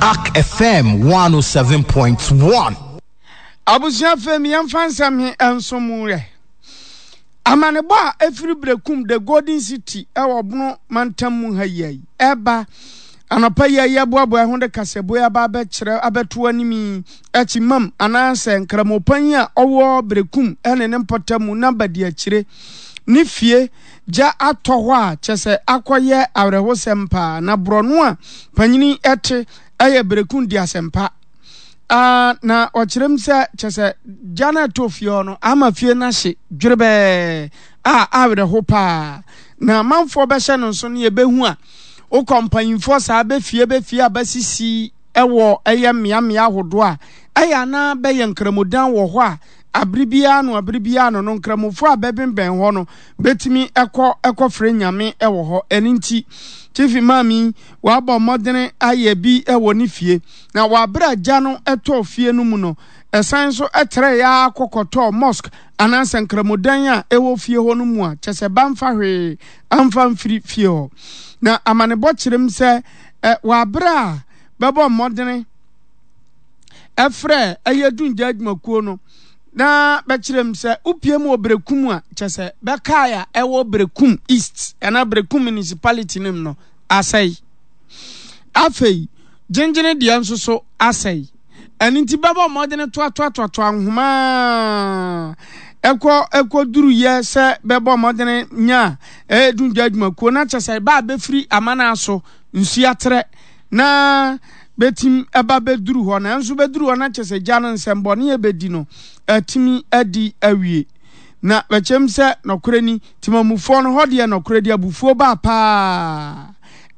Ark FM 107.1. Abusua fam yɛmfa nsɛm he nso mu ɛ. Amanebɔ a ɛfiri Berekum The Golden City wɔ Bono mantam mu ha yi ai ɛba anɔpa yi a yɛboaboa ho de kasaboe aba abɛkyerɛ abɛto anim yi akyi mam anaasɛ nkramopan a ɔwɔ Berekum ne ne mpɔtam na badiakyire ne fie gya atɔ hɔ a kyɛ sɛ akɔyɛ awerɛhosɛm paa na borɔno a panyini te ɛyɛ Berekum di asɛmpa Ah, na ɔkyerɛ mu sɛ kyɛ sɛ gya no ɛtɔ fie hɔ no ama fie no ahye dwerebɛɛ a awerɛho paa na amanfoɔ bɛhyɛ no nso no yɛbɛhu a wokɔ mpanyinfoɔ saa bɛfie bɛfie a bɛsisi ɛwɔ ɛyɛ mmeammea ahodoɔ a ɛyɛ anaa bɛyɛ nkramodan wɔ hɔ a abere biara no abere biara no no nkramofoɔ a bɛbenbɛn hɔ no bɛtumi ɛkɔ ɛkɔfrɛ nyame ɛwɔ hɔ ɛno nti Chief Imam yi wabɔ mmɔdene ayɛ bi ɛwɔ ne fie. Na wɔ bere a gya no tɔɔ fie no mu no, ɛsan nso trɛe ara kɔ kɔtɔɔ mosque anaasɛ nkramodan a ɛwɔ fie hɔ no mu a kyerɛ sɛ bamfa hwee amfa mfiri fie hɔ. Na amanebɔ kyerɛ mu sɛ wɔ bere a bɛbɔ mmɔdene frɛ ɛyɛ dungya adwumakuo no na bɛkyerɛ mu sɛ wopie mu wɔ Berekum a kyerɛ sɛ bɛkae a ɛwɔ Berekum East anaa Berekum Municipality no mu no asɛe. Afei, gyengyene deɛ nso so asɛe. Ɛno nti bɛbɔ mmɔdene toatoatoatoa nhoma a ɛkɔ ɛkɔduruyɛ sɛ bɛbɔ mmɔdene nya a ɛdundwa adwumakuo na kyɛ sɛ ɛba a bɛfiri amana so nsuo atrɛ na bɛtim ɛba bɛduru hɔ nanso bɛduru hɔ na kyɛ sɛ gya no nsɛmbɔne a ɛbɛdi no atumi adi awie. Na bɛkyɛm sɛ nɔkorɛ ni, temamufoɔ no hɔ deɛ nɔkorɛ di abufuo baa paa.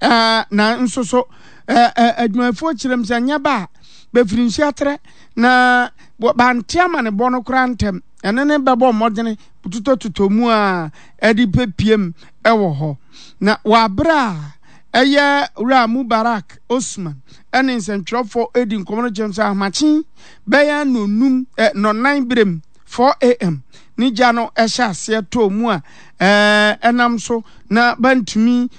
Ɛɛ, na nso so, ɛɛ, adwumayɛfoɔ kyerɛ mu sɛ nyɛ ba a, bɛfiri nsuo atrɛ, na bante amanebɔ no koraa ntɛm, ɛno ne bɛbɔ mmɔdene totɔtotɔ mu a ɛde pɛpiem wɔ hɔ. Na wɔ aberɛ a ɛyɛ Wura Mubarak Osman ɛne nsɛntwerɛfoɔ ɛdi nkɔmmɔ no kyerɛ mu sɛ ahomakye bɛyɛ nnɔnum, ɛ, nnɔnnan berɛ mu, 4 a.m. ne gya no hyɛ aseɛ tɔɔ mu a ɛnam so na bantumi.